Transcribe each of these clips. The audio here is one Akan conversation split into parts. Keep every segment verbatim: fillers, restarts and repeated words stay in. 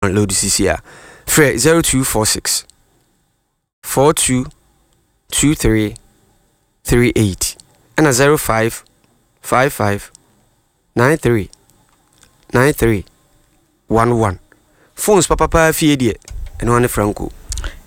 Download sisi a frɛ zero two four six four two two three three eight ɛna zero five five five nine three nine three one one. Phones papapa fie deɛ, ɛno ane Franco.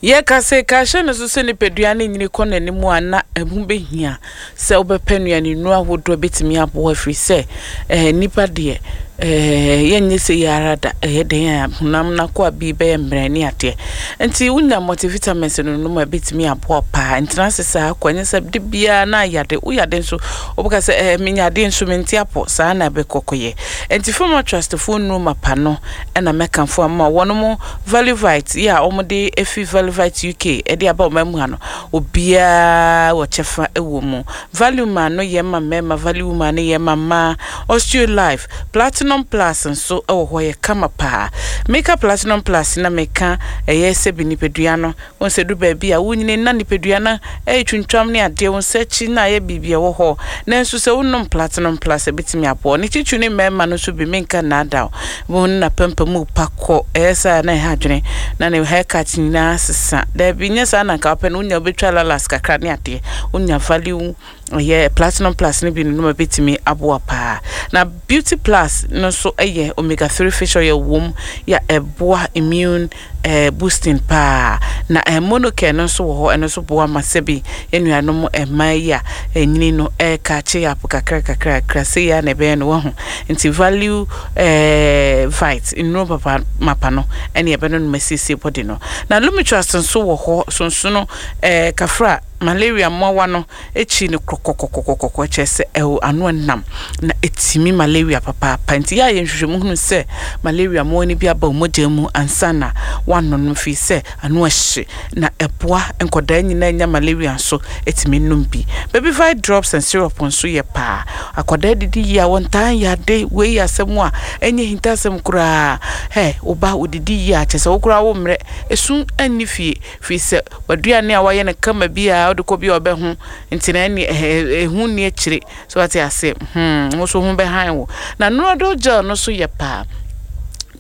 Yɛka sɛ ka hyɛ no so sɛ nipadua no nyini kɔ n'anim a, na ɛho bɛhia sɛ wobɛpɛ nnuane nnuro ahodoɔ bɛtumi aboa, firi sɛ eh, nipa deɛ eh, yɛnyɛ sɛ yɛ ara da. Ɛyɛ den a honam no akɔ a bi bɛyɛ mmerɛ ne adeɛ, nti wonya multivitamins no nom a, ɛbɛtumi aboa paa. Ntena ase saa kɔ, ɛnyɛ sɛ de biara na ayade woyade nso wobɛka sɛ eh, menya adeɛ nso mente apɔ saa na ɛbɛkɔkɔyɛ. Nti Fama Trust foɔ nnuro mapa no ɛna mɛkamfo ama wɔn mo Valivite yi a wɔde efi Valivite U K ɛde aba ɔman mu ha no. Obiara wɔ kyɛfa ɛwɔ mu. Value Man no yɛ ma mmarima, Value Woman no yɛ ma mmaa. Osteo Life Platinum Plus nso ɛwɔ hɔ, yɛ kama paa. Meka Platinum Plus na meka ɛyɛ sɛ bi nipadua no wɔn sɛ du baabi a wonyini na nipadua no ɛyɛ twintwam ne adeɛ, wɔn nsa akyi na ayɛ biribi ɛwɔ hɔ, nanso sɛ wonom Platinum Plus, ɛbɛtumi aboɔ ne kyitwi ne mmarima no nso bi. Menka nnaadaw wɔn na pɛmpɛ mu pa kɔ, ɛyɛ saa na ɛha adwene na ne haircut nyinaa sesa. Daabi, nyɛ saa na nka wopɛ no, wonya wobɛtwa lalas kakra ne adeɛ. Wonya Value ɛyɛ Platinum Plus no bi no nom, bɛtumi aboa paa. Na Beauty Plus no nso ɛyɛ omega three fish oil wom yɛ, ɛboa immune eh, boosting paa. Na eh, Monocare no nso wɔ hɔ, ɛno nso boa ma sɛbi yɛn mmaa yi a ɛnyini no ɛɛka kye apo kakra kakra kakra sɛ yɛ a na ɛbɛyɛ no wahu. Nti Value eh, Vite nnuro papa mapa no ɛne ɛbɛno no masiesie body no. Na Lumitrust nso wɔ hɔ sonsono eh, kafra malaria mmoawa no akyi no kɔkɔkɔkɔkɔ, kyerɛ sɛ ɛwɔ ano nam na ɛtumi malaria papaapa. Nti yɛ a yɛ nhwehwɛmu hunu sɛ malaria mmoawa no bi aba wo mogya mu ansa na woano no, firi sɛ ano ɛhye na ɛboa nkɔdaa nyinaa nya malaria nso ɛtumi nom bi. Baby Vite drops and syrup nso yɛ paa. Akɔdaa didi yie a, wɔntaa yade. Wei yɛ asɛm a ɛnyɛ hintasɛm koraa. Hɛ, woba wodidi yie a, kyerɛ sɛ wo koraa wo mmerɛ ɛsu anni fie, firi sɛ waduane a wayɛ no kama bi a wode kɔ bi a ɔbɛho nti na ɛne ɛho nni akyire so wate ase. hmm wo so ho bɛhan wo. Na Noradol gel no so yɛ paa.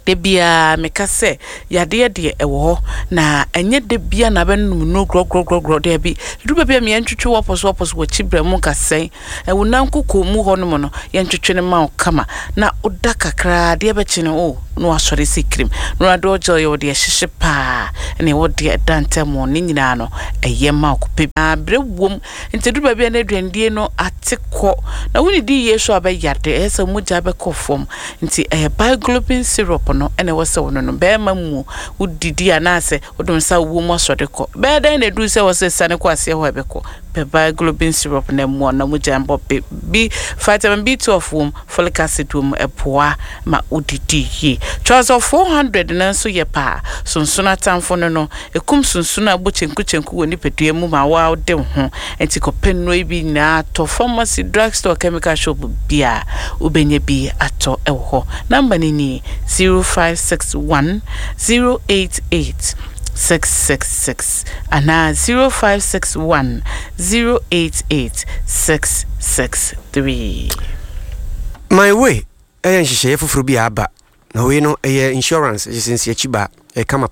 Da biara meka sɛ yadeɛ deɛ ɛwɔ hɔ na ɛnyɛ da bia na bɛnom nnuro gorɔgorɔgorɔ. Daabi, duru baabi a yɛntwetwe wɔpɔ so wɔpɔ so wɔkyi brɛ mu nkasɛn ɛwo nan koko mu hɔ nom no, yɛntwetwe no ma wo kama na woda kakraa, adeɛ bɛkye no o na wasɔre sɛ kirim. Noradol gel yɛ wɔde ɛhyehye paa ɛna ɛwɔ deɛ ɛda ntɛm ne nyinaa no, ɛyɛ ma wo kɔpɛ berɛ wom. Nti duru baabi a na aduandie no ate kɔ na wonedi yie so a, bɛyade, ɛyɛ sɛ mogya bɛkɔ fam. Nti ɛyɛ Biglobin syrup no ɛna ɛwɔ sɛ wo no no bɛrima mu wodidi anaasɛ wode nsa wɔ mu asɔre kɔ bɛyɛ dɛn na ɛduru sɛ wɔ sɛ sane kɔ aseɛ hɔ a, ɛbɛkɔ pɛ Biglobin syrup na mmoa na mogya mbɔ bi. Vitamin B twelve wom, folic acid wom, ɛboa ma wodidi yie. Twazɔ four hundred no nso yɛ paa. Sonsono atamfo no no ɛkum sonsono a ɛbɔ kyenku wɔ nipadua mu ma wode wo ho. Nti kɔpɛ nnuro yi bi nyinaa atɔ. Pharmacy, drugstore, chemical shop bia wobɛnya bi atɔ ɛwɔ hɔ. Number no nie: zero five six one zero eight eight six six six anaa zero five six one zero eight eight six six three. My Way ɛyɛ nhyehyɛeɛ foforɔ bi a aba, na wei no ɛyɛ insurance ɛhyɛ sɛ nsiakyi ba ɛka mapa.